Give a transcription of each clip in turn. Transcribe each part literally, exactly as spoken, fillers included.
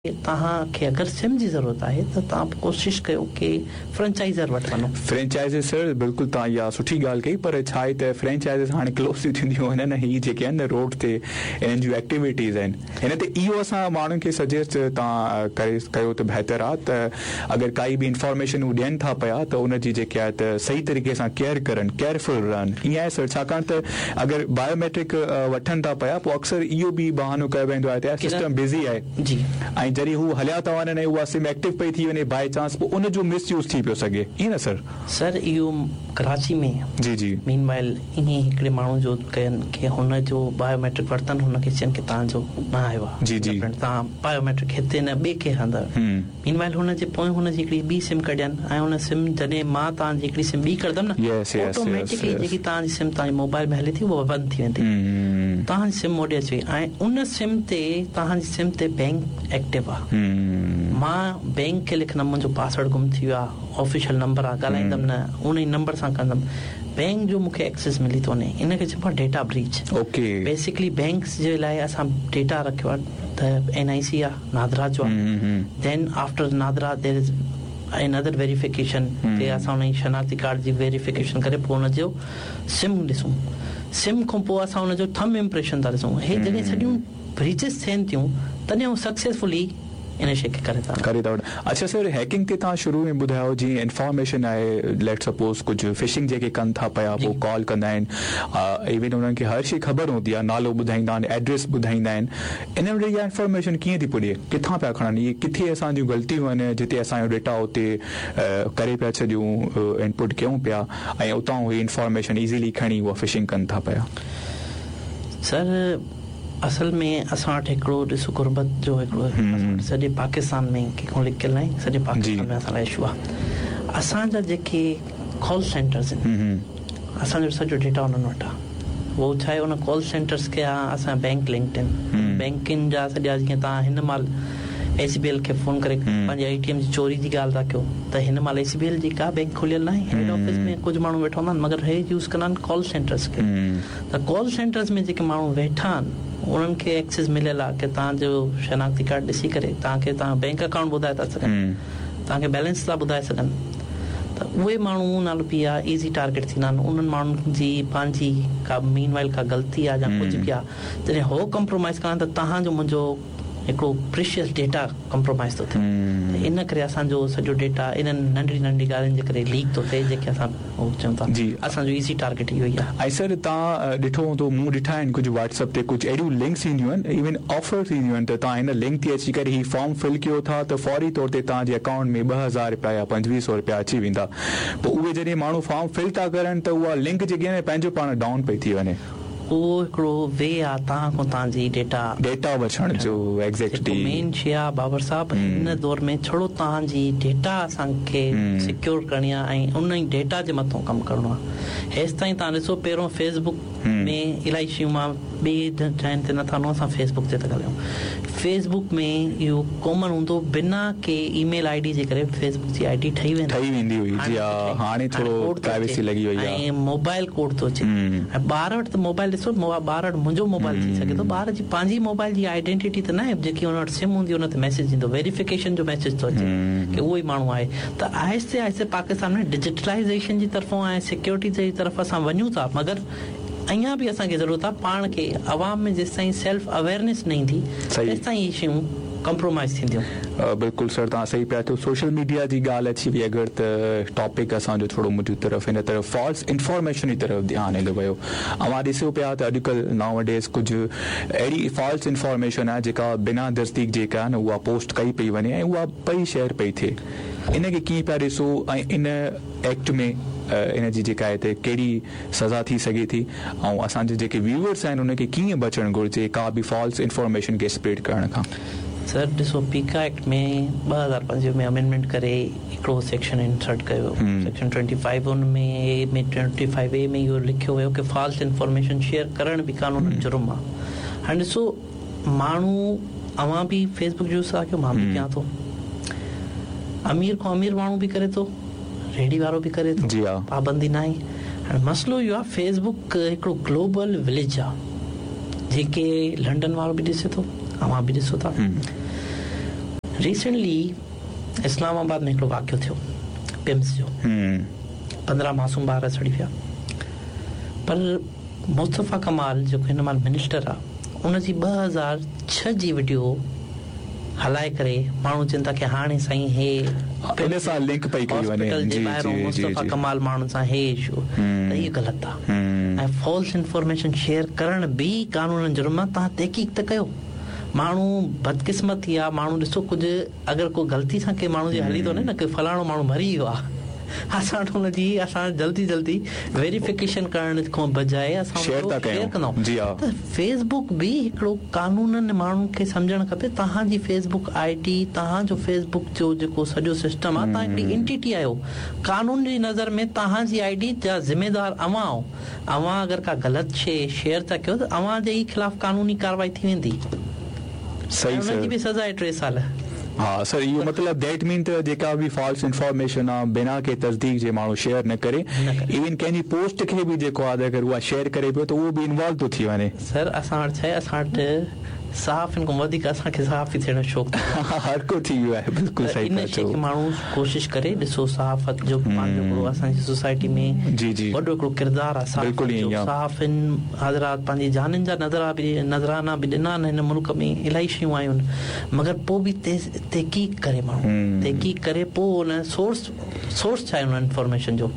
توهان کي اگر سم جي ضرورت آهي ته توهان ڪوشش ڪيو ڪي فرنچائزر وٽ وڃو. فرنچائزز سر، بلڪل توهان اها سٺي ڳالهه ڪئي، پر ڇا آهي ته فرنچائزز هاڻي ڪلوز ٿي ٿينديون وڃن. هي جيڪي آهن روڊ تي انهن جون ايڪٽيوٽيز آهن، هن تي اهو اسان ماڻهن کي سجيسٽ توهان ڪري ڪيو ته بهتر آهي ته اگر ڪائي به انفارميشن هو ڏين ٿا پيا ته ان جي جيڪي آهي ته صحيح طريقي سان ڪيئر ڪرن، ڪيئرفل رهن. ائين آهي سر؟ ڇاڪاڻ ته اگر بايوميٽرڪ وٺن ٿا پيا، پوء اڪثر اهو به بهانو ڪيو ويندو آهي ته سسٽم بزي آهي جي ۽ جڏهن هو هليا ٿا وڃن ۽ اها سم ايڪٽو پئي ٿي وڃي باءِ چانس، پوءِ ان جو مس يوز ٿي پيو سگهي. ائين نه سر؟ سر، اهو ڪراچي ۾ جي جي مين وائل ائين هڪڙي ماڻهو جو ڪين ڪه هن جو بايوميٽرڪ ورتن، هن کي چون ڪه توهان جو نه آيو آهي جي جي توهان بايوميٽرڪ هتي نه ٻئي ڪنهن هنڌ. مين وائل هن جي پوءِ هن جي هڪڙي ٻي سم ڪڍين ۽ هن سم جڏهن مان توهان جي هڪڙي سم ٻي ڪڍندم نه، آٽوميٽڪلي جيڪي توهان جي سم توهان جي موبائل ۾ هلي ٿي، اها بند ٿي ويندي. توهان جي سم هوڏي اچي وئي ۽ ان سم تي، توهان جي سم تي بينڪ ايڪٽو آهي. مان بينڪ کي لکندم منهنجو پاسورڊ گم ٿي ويو آهي، آفيشل نمبر آهي، ڳالهائيندم نه، ان ئي نمبر سان ڪندم، بينڪ جو مون کي ايڪسيس ملي ٿو وڃي. ان کي چئبو آهي data breach. Okay basically banks جي لاءِ اسان ڊيٽا رکيو آهي ته اين آءِ سي آهي، نادرا جو آهي، then after NADRA there is another verification تي اسان هن جي شناختي ڪارڊ جي ويريفڪيشن ڪري پوءِ هن جو سم ڏسون، سم کان پوءِ اسان هن جو ٿم امپريشن ٿا ڏسون. هي جڏهن سڄيون بريچز ٿين ٿيون، تڏهن هو سڪسيسفلي ان شيءِ کي ڪري ٿا ڪري ٿا وٺن. اڇا سر، هيڪنگ تي توهان شروع ۾ ٻڌايو، جيئن انفارميشن آهي، ليٽ سپوز ڪجهه فشنگ جيڪي ڪن ٿا پيا، پوءِ ڪال ڪندا آهن، ايون انهن کي هر شيءِ خبر هوندي آهي، نالو ٻڌائيندا آهن، ايڊريس ٻڌائيندا آهن. ان وٽ اها انفارميشن ڪيئن ٿي پڄي؟ ڪٿان پيا کڻن اهي؟ ڪٿي اسان جون غلطيون آهن جتي اسان جو ڊيٽا اتي ڪري پيا ڇڏيون، انپٽ ڪيون پيا ۽ اتان اهي انفارميشن ايزيلي کڻي اها فشنگ ڪن ٿا پيا؟ سر، اصل ۾ اسان وٽ هڪڙو ڏسو غربت جو هڪڙو سڄي پاڪستان ۾ ڪنهن کان لڪيل نه آهي، سڄي پاڪستان ۾ اسان لاءِ اشو آهي. اسان جا جيڪي ڪال سينٽرس آهن، اسان جو سڄو ڊيٽا انهن وٽ آهي. اهو ڇا آهي، ان ڪال سينٽرس کي آهي اسان بينڪ لنڪڊ آهن، بينڪن جا سڄا. جيئن توهان هن مهل ايس بي ايل کي فون ڪري پنهنجي اي ٽي ايم جي چوري جي ڳالهه ٿا ڪيو ته هن مهل ايس بي ايل جي ڪا بينڪ کليل نه آهي، هيڊ آفيس ۾ ڪجهه ماڻهو ويٺا هوندا آهن، مگر هي يوز ڪندا آهن ڪال سينٽرس کي. ته ڪال سينٽرس ۾ جيڪي ماڻهو ويٺا آهن، انهن کي ايڪسيس مليل آهي ڪه توهان جو شناختي ڪارڊ ڏسي ڪري توهان کي توهان بينڪ اڪائونٽ ٻڌائي ٿا سگهن، توهان کي بيلنس ٿا ٻڌائي سگهن. ته اهي ماڻهو نالو پي آهي ايزي ٽارگيٽ ٿيندا آهن. انهن ماڻهن جي پنهنجي ڪا مين وائل ڪا غلطي آهي يا ڪجهه به آهي، جڏهن هو ڪمپرومائز ڪندا ته توهان جو منهنجو هڪڙو پريشيس ڊيٽا ڪمپرومائز ٿو ٿئي. ته ان ڪري اسان جو سڄو ڊيٽا انهن ننڍڙي ننڍي ڳالهين جي ڪري ليڪ ٿو ٿئي، جيڪي اسان چئون ٿا جي اسان جو ايزي ٽارگيٽ اهو ئي آهي. ۽ سر، توهان ڏٺو هوندو، مون ڏٺا آهن ڪجهه واٽس ايپ تي ڪجهه اهڙيون لنڪس اينديون آهن، ايون آفرس اينديون آهن ته توهان هن لنڪ تي اچي ڪري هي فارم فل ڪيو ٿا ته فوري طور تي توهان جي اڪائونٽ ۾ ٻه هزار رپيا يا پنجويهه سؤ رپيا اچي ويندا. پوءِ اهي جڏهن ماڻهو فارم فل ٿا ڪرن ته اها لنڪ جيڪي آهي پنهنجو پاڻ ڊائون پئي ٿي وڃي. اهو هڪڙو وي آهي توهان کان توهان جي ڊيٽا ڊيٽا وٺڻ جو. ايگزيڪٽلي. مين شيءِ آهي بابر صاحب، هن دور ۾ ڇڙو توهان جي ڊيٽا اسان کي سڪيور ڪرڻي آهي ۽ ان ئي ڊيٽا جي مٿان ڪم ڪرڻو آهي. هيس تائين توهان ڏسو، پهريون فيس بڪ ۾ الاهي شيون، مان ٻي جاين تي نٿا وڃون، اسان فيس بڪ تي ٿا ڳالهايون. فيس بڪ ۾ اهو ڪامن هوندو، بنا ڪي اي ميل I D جي ڪري فيس بڪ جي I D ٺهي ويندي ٺهي ويندي هئي. جي ها، هاڻي ٿورو پرائيويسي لڳي وئي آهي. ۽ موبائل ڪوڊ ٿو اچي ۽ ٻار وٽ ته موبائل ڏسو، ٻار وٽ منهنجو موبائل ٿي سگهي ٿو، ٻار جي پنهنجي موبائل جي آئيڊينٽٽي ته نه آهي. جيڪي هن وٽ سم هوندي، هن تي ميسيج ايندو، ويريفڪيشن جو ميسيج ٿو اچي ڪه اهو ئي ماڻهو آهي. ته آهستي آهستي پاڪستان ۾ ڊجيٽلائيزيشن جي طرفون ۽ سيڪيورٽي جي طرف اسان وڃون ٿا، مگر اڃا به اسان کي ضرورت آهي پاڻ کي عوام ۾ جيس تائين سيلف اويئرنيس نه ايندي، تيس تائين اهي شيون ڪمپرومائز ٿينديون. بلڪل سر، توهان صحيح پيا چئو. سوشل ميڊيا جي ڳالهه اچي وئي اگر ته ٽاپڪ اسان جو ٿورو منهنجي طرف هن طرف فالس انفارميشن جي طرف ڌيان هليو ويو. اوهان ڏسو پيا ته اڄڪلهه ناو ڊيز ڪجهه اهڙي فالس انفارميشن آهي جيڪا بنا تصديق جيڪا آهي نه اها پوسٽ ڪئي پئي وڃي ۽ اها پئي شيئر پئي ٿئي. ان کي ڪيئن پيا ڏسو ۽ ان ايڪٽ ۾ ان جي جيڪا آهي ته ڪهڙي سزا ٿي سگهي ٿي ۽ اسان جي جيڪي ويوئرس آهن ان کي ڪيئن بچڻ گهرجي ڪا به فالس انفارميشن کي اسپريڊ ڪرڻ کان؟ سر ڏسو، پيڪا ايڪٽ ۾ ٻه هزار پنجويهه ۾ امينڊمينٽ ڪري هڪڙو سيڪشن انسرٽ ڪيو، سيڪشن ٽوئنٽي فائيو. ان ۾ اي ۾ ٽوئنٽي فائيو اي ۾ اهو لکيو ويو ڪه فالس انفارميشن شيئر ڪرڻ به قانون جرم آهي. هاڻي ڏسو، ماڻهو اوهان به فيس بڪ يوز ٿا ڪيو، مان به ڪيان ٿو، امير کان امير ماڻهو به ڪري ٿو، ريڙهي وارو به ڪري ٿو. جي ها پابندي نه آهي. هاڻي مسئلو اهو آهي، فيس بڪ هڪڙو گلوبل وليج آهي، جيڪي لنڊن وارو به ڏسي ٿو، اوهان به ڏسو ٿا. ريسنٽلي اسلام آباد ۾ هڪڙو واقعو ٿيو پمس جو، پندرهن معصوم ٻار سڙي ويا. پر مصطفيٰ ڪمال جيڪو هن مهل منسٽر آهي ان جي ٻه هزار ڇهه جي وڊيو هلائي ڪري ماڻهو چون ٿا ڪه هاڻي سائين هي ان سان لنڪ پئي ڪئي وڃي، هاسپيٽل جي ٻاهران مصطفيٰ ڪمال ماڻهن سان هي اشو، ته اهو غلط آهي. ۽ فالس انفارميشن شيئر ڪرڻ به قانونن جرم آهي. توهان تحقيق ته ڪيو. ماڻهو بدقسمتي آهي، ماڻهو ڏسو ڪجهه اگر ڪو غلطي سان ڪنهن ماڻهو جي هلي ٿو وڃي نه ڪه فلاڻو ماڻهو مري ويو آهي، اسان وٽ هن جي اسان جلدي جلدي ويريفڪيشن ڪرڻ کان بجاءِ اسان شيئر ٿا شيئر ڪيون. ڪندا. ته فيس بڪ به هڪڙو قانونن ماڻهن کي سمجهڻ کپي. توهان جي فيس بڪ I D, توهان جو فيس بڪ جو جيڪو سڄو سسٽم آهي، توهان هڪڙي انٽيٽي آهيو. قانون جي نظر ۾ توهان جي I D جا ذميدار اوهان آهيو. اوهان اگر ڪا غلط شيءِ شيئر ٿا ڪيو ته اوهان جي ئي خلاف قانوني ڪارروائي ٿي ويندي. صحيح ۽ هن جي سر. به سزا آهي ٽي سال. ها سر، اهو مطلب that مين ته جيڪا به فالس انفارميشن آهي بنا ڪنهن تصديق جي ماڻهو شيئر نه ڪري، نه ڪري. ايون ڪنهن جي پوسٽ کي به جيڪو آهي اگر اها شيئر ڪري پيو ته اهو به انوالو ٿو ٿي وڃي. سر اسان وٽ ڇا آهي، اسان وٽ صحافين کان وڌيڪ اسان کي صحافي ٿيڻ جو شوق ٿي ويو آهي. هر ڪو ٿي ويو آهي. بلڪل ته صحيح ان ٿا شيءِ چئو. کي ماڻهو ڪوشش ڪري ڏسو، صحافت جو پنهنجو هڪڙو اسان جي سوسائٽي ۾ جي جي وڏو هڪڙو ڪردار آهي صحافت بلڪل ائين جو. ئي آهي. صحافين حضرات پنهنجي جانن جا نظرا به نذرانا به ڏنا آهن. هن ملڪ ۾ الاهي شيون آيون آهن، مگر پوءِ به تحقيق ڪري ماڻهو، تحقيق ڪري پوءِ ان سورس سورس ڇا آهي ان انفارميشن جو.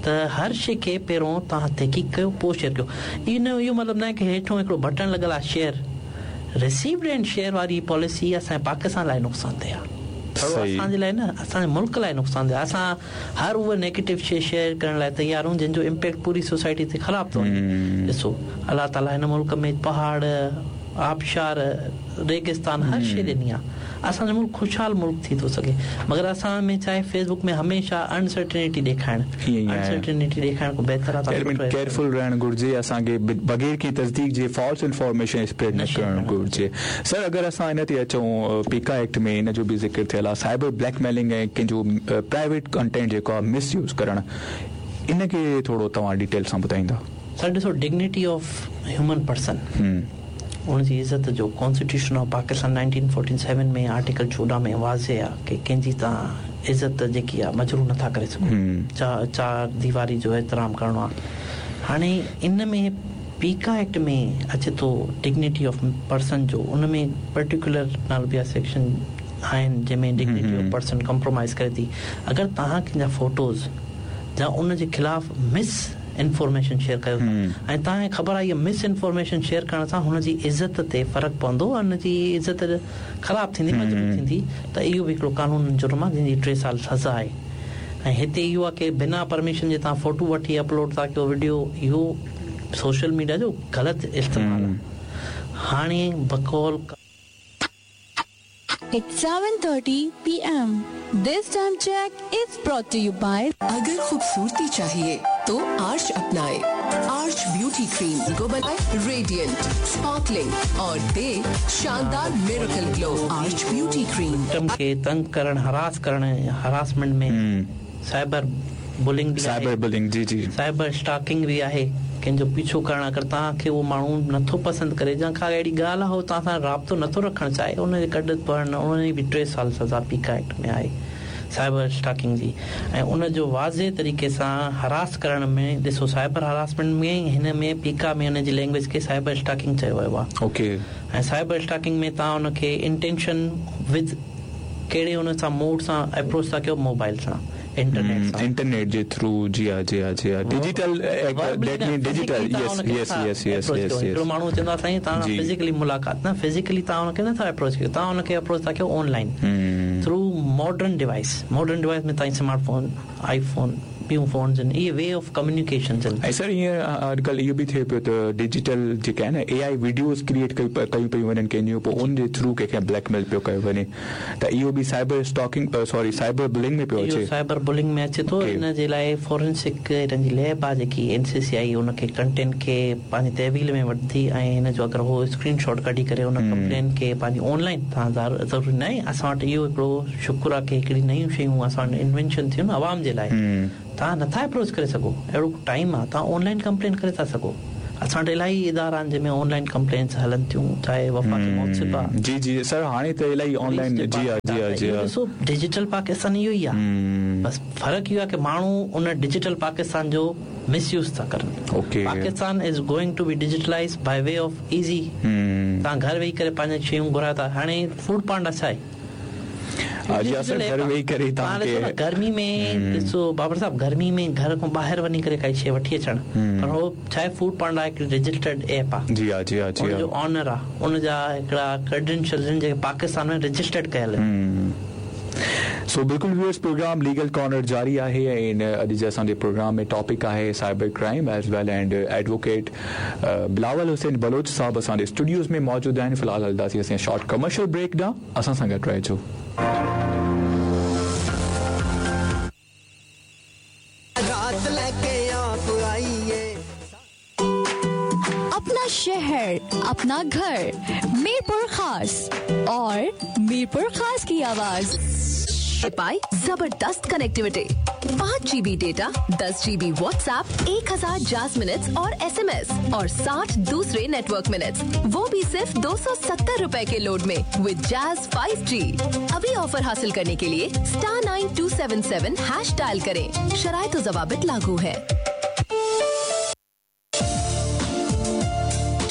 ته هر شيءِ کي پهريون توهان تحقيق ڪيو پوءِ شيئر ڪيو. ان اهو مطلب نه آهي ڪه هيٺون هڪڙو بٽڻ لڳل آهي شيئر، رسيوڊ اينڊ شيئر واري پاليسي اسان جي پاڪستان لاءِ نقصان ده آهي. ٿورو اسان جي لاءِ نه، اسان جي ملڪ لاءِ نقصان ده آهي. اسان هر اها نيگيٽو شيءِ شيئر ڪرڻ لاءِ تيار آهيون جنهن جو امپيڪٽ پوري سوسائٽي تي خراب ٿو وڃي. ڏسو الله تعاليٰ هن ملڪ ۾ پهاڙ، آبشار، ريگستان هر شيءِ ڏني آهي. اسان جو ملڪ خوشحال ملڪ ٿي ٿو سگهي، مگر اسان ۾ ڇا آهي فيس بڪ ۾ هميشه انسرٽنٽي ڏيکارڻ، ائين ئي آهي. انسرٽنٽي ڏيکارڻ کان بهتر آهي ته سٺو ڪيئرفل رهڻ گهرجي اسان کي، بغير ڪنهن تصديق جي فالس انفارميشن اسپريڊ نه ڪرڻ گهرجي. سر اگر اسان هن تي اچون پيڪا ايڪٽ ۾ هن جو به ذڪر ٿيل آهي، سائبر بليڪ ميلنگ ۽ ڪنهن جو پرائيويٽ ڪنٽينٽ جيڪو آهي مس يوز ڪرڻ، ان کي ٿورو توهان ڊيٽيل سان ٻڌائيندا. سر ڏسو، ڊگنٽي آف هيومن پرسن، ان جي عزت جو constitution of Pakistan nineteen forty seven ۾ article چوڏهن ۾ واضح آهي ڪه ڪنهن جي توهان عزت جيڪي آهي مجروح نٿا ڪري سگهو، چار چار ديواري جو احترام ڪرڻو آهي. هاڻي ان ۾ پيڪا ايڪٽ ۾ اچي ٿو ڊگنٽي آف پرسن جو، ان ۾ پرٽيڪيولر نالو ٻيا سيڪشن آهن جنهن ۾ ڊگنٽي آف پرسن ڪمپرومائز ڪري ٿي. اگر توهان ڪنهن جا فوٽوز يا ان جي خلاف مس انفارميشن شيئر ڪيو ٿا ۽ توهان کي خبر آهي اها مس انفارميشن شيئر ڪرڻ سان هن جي عزت تي فرق پوندو، هن جي عزت خراب ٿيندي، مجروح ٿيندي، ته اهو به هڪڙو قانون جرم آهي جنهن جي ٽي سال سزا آهي. ۽ هتي اهو آهي ڪه بنا پرميشن جي توهان فوٽو وٺي اپلوڊ ٿا ڪيو، وڊيو، اهو سوشل ميڊيا جو غلط استعمال آهي. هاڻي بقول It's seven thirty p m. This time check is brought to you by अगर खूबसूरती चाहिए तो आर्च अपनाए। आर्च ब्यूटी क्रीम को बनाए रेडिएंट, स्पार्कलिंग और दे शानदार miracle glow. Arch beauty cream. Victim खे तंग करण, हरास करण, हरासमेंट में साइबर बुलिंग बि आहे, साइबर बुलिंग, जी जी, साइबर स्टॉकिंग बि आहे, कंहिंजो पीछो करणु। अगरि तव्हांखे उहो माण्हू नथो पसंदि करे या का अहिड़ी ॻाल्हि आहे, उहो तव्हां सां राब्तो नथो रखणु चाहे, उनजे कढ पवण, उनजी बि टे साल सज़ा पीका एक्ट में आहे साइबर स्टॉकिंग जी। ऐं उनजो वाज़े तरीक़े सां हरास करण में ॾिसो, साइबर हरासमेंट में हिन में पीका में हुनजी लैंग्वेज खे साइबर स्टॉकिंग चयो वियो आहे। ओके। ऐं साइबर स्टॉकिंग में तव्हां हुनखे इंटेंशन विद कहिड़े हुन सां मोड सां अप्रोच था कयो, मोबाइल सां, इंटरनेट सां, इंटरनेट जे थ्रू। जी हा, जी हा, जी हा, digital, that mean digital. Yes yes yes yes yes. हिकिड़ो माण्हू चवंदो आहे साईं तव्हां फिजिकली मुलाक़ात न, फिजिकली तव्हां हुनखे नथा अप्रोच कयो, तव्हां हुनखे अप्रोच था कयो online through modern device. Modern device में तव्हां स्मार्ट फोन, आईफोन, ॿियूं फोन्स आहिनि, इहे वे ऑफ कम्युनिकेशन आहिनि। ऐं सर ईअं अॼुकल्ह इहो बि थिए पियो त डिजिटल जेके आहिनि ए I videos create कयूं पयूं वञनि कंहिंजूं, पोइ उनजे थ्रू कंहिंखे ब्लैकमेल पियो कयो वञे, त इहो बि cyber stalking, sorry cyber bullying में पियो अचे। साइबर बुलिंग में अचे थो। इन जे लाइ फॉरेंसिक हिननि जी लैब आहे जेकी एन सी सी आई, उनखे कंटेंट खे पंहिंजी तहवील में वठंदी ऐं हिन जो अगरि उहो स्क्रीन शॉट कढी करे उन कंप्लेन खे पंहिंजी ऑनलाइन तव्हां ज़रूरी न आहे। असां वटि इहो हिकिड़ो शुक्र आहे की हिकिड़ी नयूं शयूं असां वटि इन्वेंशन थियूं आहिनि अवाम जे लाइ, तव्हां नथा अप्रोच करे सघो, अहिड़ो टाइम आहे, तव्हां ऑनलाइन कंप्लेन करे था सघो। असां वटि इलाही इदारा आहिनि जंहिंमें ऑनलाइन कंप्लेंट्स हलनि थियूं, चाहे वफ़ाक़ी मुहतसिब आहे। जी जी सर, हाणे त इलाही ऑनलाइन। जी हा जी हा जी हा। ॾिसो डिजिटल पाकिस्तान इहो ई आहे, बसि फ़र्क़ु इहो आहे की माण्हू उन डिजिटल पाकिस्तान जो मिसयूज़ था करनि। Okay, Pakistan is going to be digitalise by way of easy. तव्हां घर वेही करे पंहिंजी शयूं घुरायो था। हाणे फूड पांडा छा आहे? गर्मी में ॾिसो बाबर साहब, गर्मी में घर खां ॿाहिरि वञी करे काई शइ वठी अचणु, पर हो छा आहे फूड पांडा हिकु रजिस्टर्ड ऐप आहे। जी हा जी हा जी हा। उनजो ऑनर आहे, उनजा हिकिड़ा क्रेडेंशियल्स आहिनि जेके पाकिस्तान में रजिस्टर्ड कयल आहिनि। सो बिल्कुलु व्यूअर्स, प्रोग्राम लीगल कॉर्नर जारी आहे ऐं अॼु जे असांजे प्रोग्राम में टॉपिक आहे cyber crime as well and advocate Bilawal Hussain Baloch साहब असांजे स्टूडियोज़ में मौजूदु आहिनि। फ़िलहाल हलंदासीं असां शॉर्ट कमर्शियल ब्रेक ॾांहुं, असां सां गॾु रहिजो। अपना शहर, अपना घर, मीरपुर खास और मीरपुर खास की आवाज। पाए जबरदस्त कनेक्टिविटी, पाँच जीबी डेटा, दस जीबी व्हाट्सएप, एक हजार जाज मिनट्स और एसएमएस और साठ दूसरे नेटवर्क मिनट्स, वो भी सिर्फ दो सौ सत्तर रुपए के लोड में विद जैज फाइव जी। अभी ऑफर हासिल करने के लिए star nine two seven seven hash dial करें। शराइत व ज़वाबित लागू है।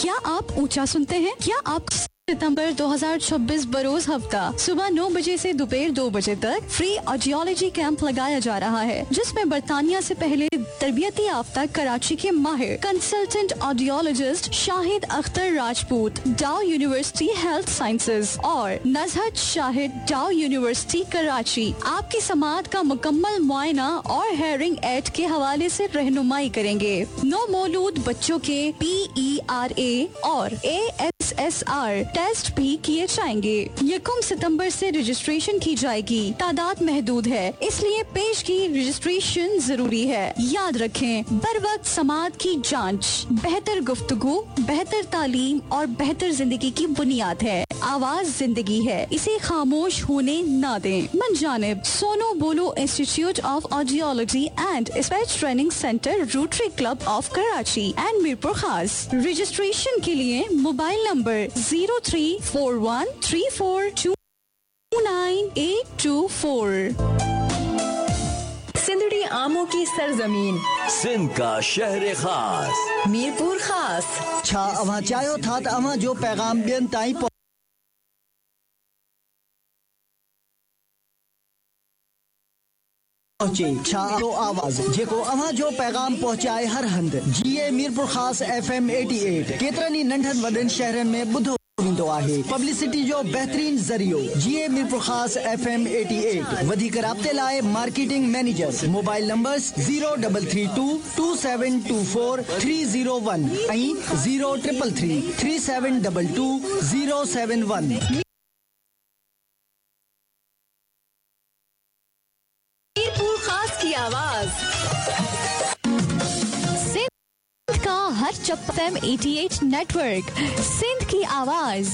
क्या आप ऊंचा सुनते हैं? क्या आप सितंबर दो हज़ार छब्बीस बरोज हफ्ता सुबह नौ बजे से दोपहर दो बजे तक फ्री ऑडियोलॉजी कैंप लगाया जा रहा है, जिसमें बरतानिया से पहले तरबियती याफ्ता कराची के माहिर consultant audiologist Shahid Akhtar Rajput, Dow University Health Sciences और नजहत शाहिद, डाउ यूनिवर्सिटी कराची, आपकी समाअत का मुकम्मल मुआयना और हेयरिंग एड के हवाले से रहनुमाई करेंगे। नौ मौलूद बच्चों के पी ई आर ए और A S S R test भी किए जाएंगे। यकम सितंबर से रजिस्ट्रेशन की जाएगी। तादाद महदूद है, इसलिए पेश की रजिस्ट्रेशन जरूरी है। याद रखें, बर वक्त समाअत की जांच बेहतर गुफ्तगू, बेहतर तालीम और बेहतर जिंदगी की बुनियाद है। आवाज जिंदगी है, इसे खामोश होने ना दें। मन जानिब Sono Bolo Institute of Audiology and Speech Training Centre, Rotary Club of Karachi and Mirpur Khas. Registration के लिए mobile number zero three four one three four two nine eight two four. Sindhri आमों की सरजमीन, सिंध का शहर खास, मीरपुर खास। छा अव्हां चाहियो था त अव्हां जो पैगाम ॿियनि ताईं पहुचे? छा जो आवाज़ जेको अव्हां जो पैगाम पहुचाए हर हंधि। जी ए Mirpur Khas F M eighty eight केतिरनि ई नंढनि वॾनि शहरनि में ॿुधो वेंदो आहे। पब्लिसिटी जो बहितरीन ज़रियो जी ए Mirpur Khas F M eighty eight. वधीक राब्ते लाइ marketing manager mobile numbers zero double three two two seven two four three zero one ऐं zero triple three three seven double two zero seven one. की आवाज सिंध का हर चप्पल M अठासी network, Sindh की आवाज।